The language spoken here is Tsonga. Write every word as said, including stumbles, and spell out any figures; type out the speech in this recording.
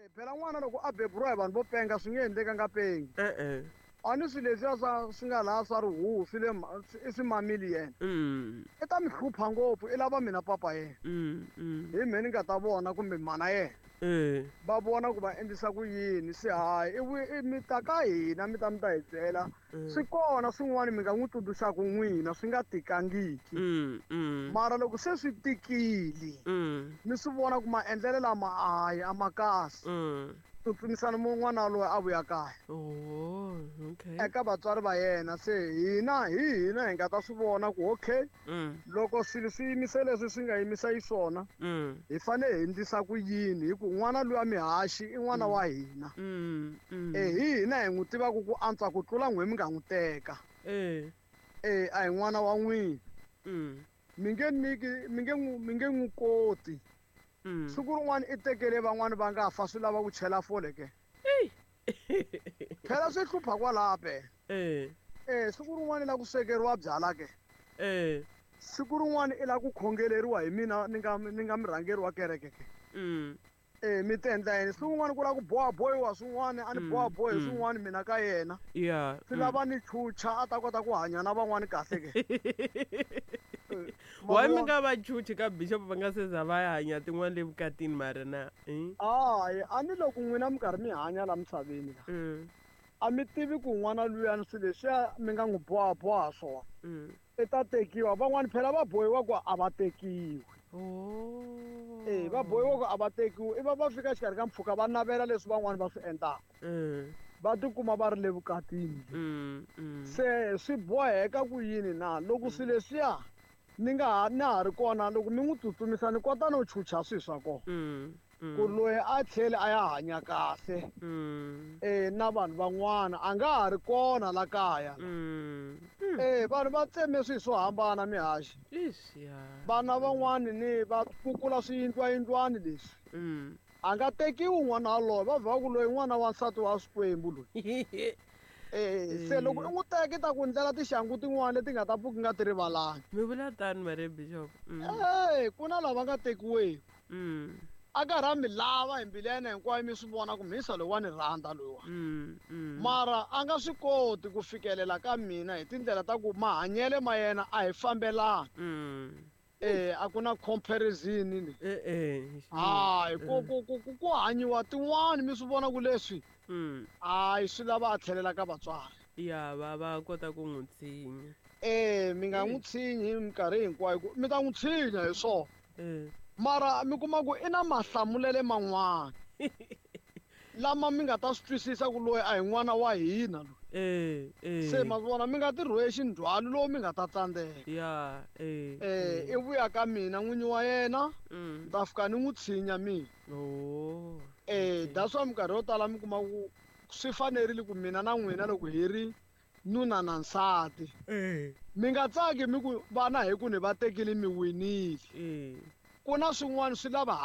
Eh, phela n'wana loko a beburiwa hi vanhu vo penga swi nge endleki a nga pengi E-e. A ni swilo leswiya swa swi nga laha swa rihuhu swi le ma- swi- i swi mamili yena Mm. i ta mi hlupha ngopfu i lava mina papa yena Mm. Mm. hi mhe ni nga ta vona kumbe mana yena Eh. va vona ku va endlisa ku yini se hayi i vu- i mi ta ka hina mi ta mi ta hi byela Mm. swi kona swin'wana mi nga n'wi tsundzuxaka n'wina swi nga tikangiki Mm. Mm. mara loko se swi tikile Mm. mi swi vona ku maendlelo lama hayi a ma kahle Mm. tsutsumisana mun'wana loyi a vuya kaya Oh, okay. eka vatswari va yena se hina hi hina hi nga ta swi vona ku okay Mm. loko swilo swi yimise leswi swi nga yimisa xiswona Mm. hi fanele hi endlisa ku yini hi ku n'wana luya mihaxi i n'wana wa hina Mm. Mm. e hi hina hi n'wi tivaka ku antswa ku tlula n'we mi nga n'wi teka Eh. e a hi n'wana wa n'wina Mm. mi nge nyiki mi nge n'wi mi nge n'wi koti Mm. siku rin'wana i tekele van'wani va nga fa swi lava ku chela fole ke Ey. phela swi hlupha kwalaha phela Eh. e siku rin'wana i la ku swekeriwa byala ke Eh. siku rin'wana i la ku khongeleriwa hi mina ni nga ni nga murhangeri wa kereke ke Mm. e mi ti endla yini siku rin'wana ku lava ku bohabohiwa swin'wana a ni Mm, bohabohi mm. swin'wana mina ka yena Yeah. swi lava ni chucha a ta kota ku hanya na van'wani kahle ke Eh, ma Why mi vona? nga va chuchi ka bishop va nga se za va ya hanya tin'wana le vukatini mara na? Eh? hayi a ni loko n'wina mi karhi mi hanya la misaveni la Mm. a mi tivi ku n'wana luyani swilo leswiya mi nga n'wi bohaboha swona Mm. i ta tekiwa van'wani phela va bohiwa ku a va tekiwi Oh. e va bohiwa ku a va tekiwi i va va fika xikarhi ka mpfhuka va navela leswi van'wani va swi endlaka Mm. va tikuma va ri le vukatini Mm. Mm. se swi boheka ku yini na loko swilo leswiya ni nga ha na ha ri kona loko mi n'wi tsutsumisa ni kota no chucha swilo swa kona Mm. Mm. ku loyi a tlheli a ya hanya kahle Mm. e na vanhu van'wana a nga ha ri kona la kaya Mm. e vanhu va tseme swilo swo hambana mihaxi Ish, yeah. vana van'wani ni va kukula swiyindlwayindlwani leswi Mm. a nga tekiwi n'wana waloye va vha ku loyi n'wana wa nsati wa swikwembu loyi e se loko i n'wi teka i ta ku ndlela tixangu tin'wana leti nga ta pfuki nga ti rivalanga Mi vula tani mara bishop. Mm. e ku na lava nga tekiweki Mm. a karhi a mi lava hi mbilu ya yena hinkwayo mi swi vona ku mhisa loyi wa ni rhandza loyiwa Mm. Mm. mara a nga swi koti ku fikelela ka mina hi tindlela ta ku mahanyelo ma yena a hi fambelani Mm. e a ku na comparison ni Eh eh. hayi ku ku ku ku ku hanyiwa tin'wani mi swi vona ku leswi Mm. hayi swi lava a tlhelela ka vatswari Ya va va kota ku n'wi tshinya. e mi nga n'wi tshinyi hi minkarhi hinkwayo ku mi ta n'wi tshinya hi swona Eh. mara mi kuma ku i na mahlamulelo man'wana lama mi nga ta swi twisisa ku loyi a hi n'wana wa hina loyi Eh eh. se ma swi vona mi nga ti rhwexi ndzhwalo lowu mi nga ta tsandzeka Ya eh. um i vuya ka mina n'winyi wa yena Mm. ni ta fika ni n'wi tshinya mina Oh. um that's why minkarhi yo tala mi kuma ku swi fanerile ku mina na n'wina loko hi ri nuna na nsati Eh. mi nga tsaki mi ku vana hi ku ni va tekile mi winile Eh. ku na swin'wana swi lava